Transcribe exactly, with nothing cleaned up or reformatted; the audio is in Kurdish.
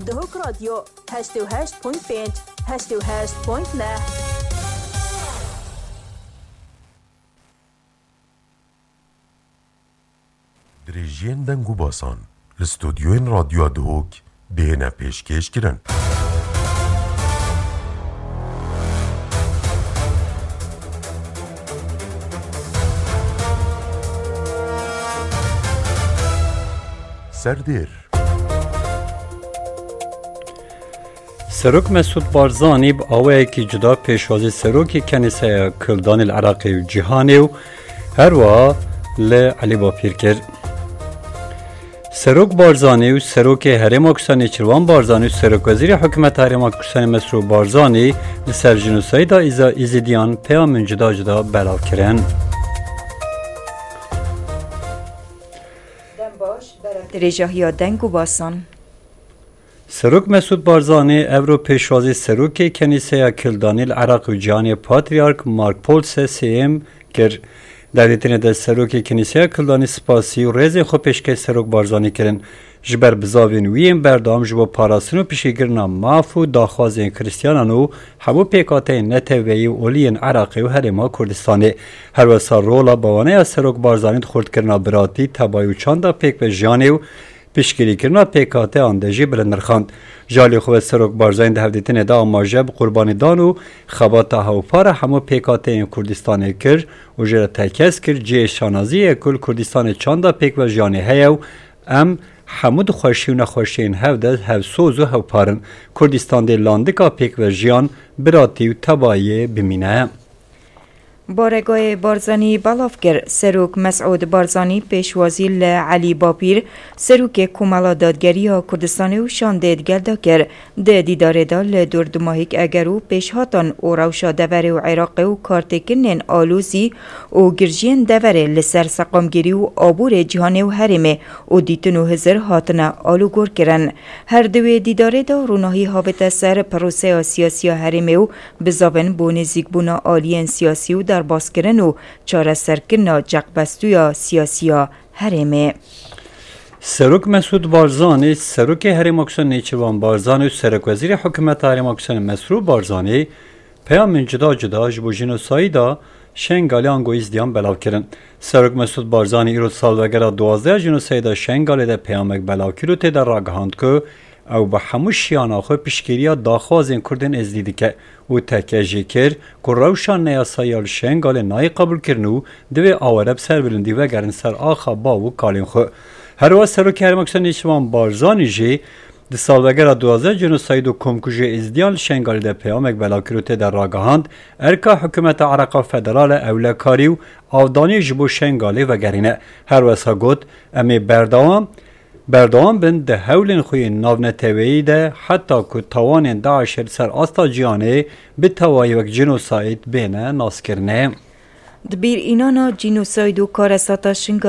Duhok Radyo, heştê û heşt point pênc, heştê û heşt point neh. Dirêjiyên deng û basan li stûdyoyên Radyoya Duhok dihêne pêşkêş kirin. Serdêr. Serok Mesûd Barzanî bi awayekî cuda pêşwazî serokê Kenîseya Kildanê li Iraqê û Cîhanê û herwiha li Elî Bapîr kir. Serok Barzanî û Serokê Herêma Kurdistanê Nêçîrvan Barzanî û Serokwezîrê Hikûmeta Herêma Kurdistanê Mesrûr Barzanî li ser jînosayda Îza-, Îzîdiyan peyamên cuda cuda belav kirin. Dem baş, berek dirêjahiya deng û basan. Serok Mesûd Barzanî evro pêşwazî serokê Kenîseya Kildanî li Iraq û Cîhanê Patrîark Mark Paul sê sêyem kir. Di hevdîtinê de serokê Kenîseya Kildanî spasî û rêzên xwe pêşkêş Serok Barzanî kirin. Ji ber bizavên wî yên berdewam ji bo parastin û piştgirkirina maf û daxwazên Xristiyanan û hemû pêkhateyên neteweyî û olî yên Iraqê û Herêma Kurdistanê. Herwesa rola bawaneya Serok Barzanî di xurtkirina biratî, tebayî û çanda pêk ve jiyanê û piştgirîkirina pêkhateyan de jî bilind nirxand. Ji alî xwe ve Serok Barzanî di hevdîtinê de amaje bi qurbanîdan û xebata hewpar a hemû pêkhateyên Kurdistanê kir û jê re tekez kir cihê şanaziyê ye ku li Kurdistanê çanda pêk ve jiyanê heye û em hemû di xweşî û nexweşiyên hev de hevsoz û hewpar in. Kurdistan dê landika pêk ve jiyan, biratî û tebayiyê bimîne. Baregayê Barzanî belav kir. Serok Mesûd Barzanî pêşwazî li Elî Bapîr, serokê Komela Dadgeriya Kurdistanê û şandê digel de kir. Di dîdarê de li dor dumahîk eger û pêşhatan û rewşa deverê û Iraqê û kartêkirinên alozî û girjiyên deverê li ser seqamgirî û aborê cîhanê û herêmê û dîtin û hizir hatine alûgor kirin. Her di wê dîdarê de rûnahî havête ser proseya siyasî ya herêmê û bizavên bo nêzîkbûna aliyên siyasî û derbaskirin û çareserkirina ceqbestûya siyasî ya herêmê. Serok Mesûd Barzanî, Serokê Herêma Kurdistanê Nêçîrvan Barzanî û Serokwezîrê Hikûmeta Herêma Kurdistanê Mesrûr Barzanî peyamên cuda cuda ji bo jînosayda Şengalê ango Îzdiyan belav kirin. Serok Mesûd Barzanî îro di salvegera duwazdeh ya jînosayda Şengalê de peyamek belav kir û tê de ragihand ku ew bi hemû şiyana xwe piştgiriya daxwazên Kurdên Êzidî dike û tekez jê kir ku rewşa neyasayî ya li Şengalê nayê qebûlkirin û divê aware bi serbilindî vegerin ser axa bav û kalên xwe. Herwiha Serokê Herêma Kurdistanê Nêçîrvan Barzanî jî di salvegera duwazdeh cînosayîd û komkujiyê Êzidiyan li Şengalê de peyamek belav kir û tê de ragihand, erka hikûmeta Iraqa Federal e ewlekarî û avdaniyê ji bo Şengalê vegerîne. Herwesa got, em ê berdewam, berdewam bin di hewlên xwe yên navneteweyî de heta ku tawanên DAIŞê li ser asta cîhanê bi tewayî wek cînosayîd bêne naskirinê. Di bîr înana cînosayd û karesata Şingalê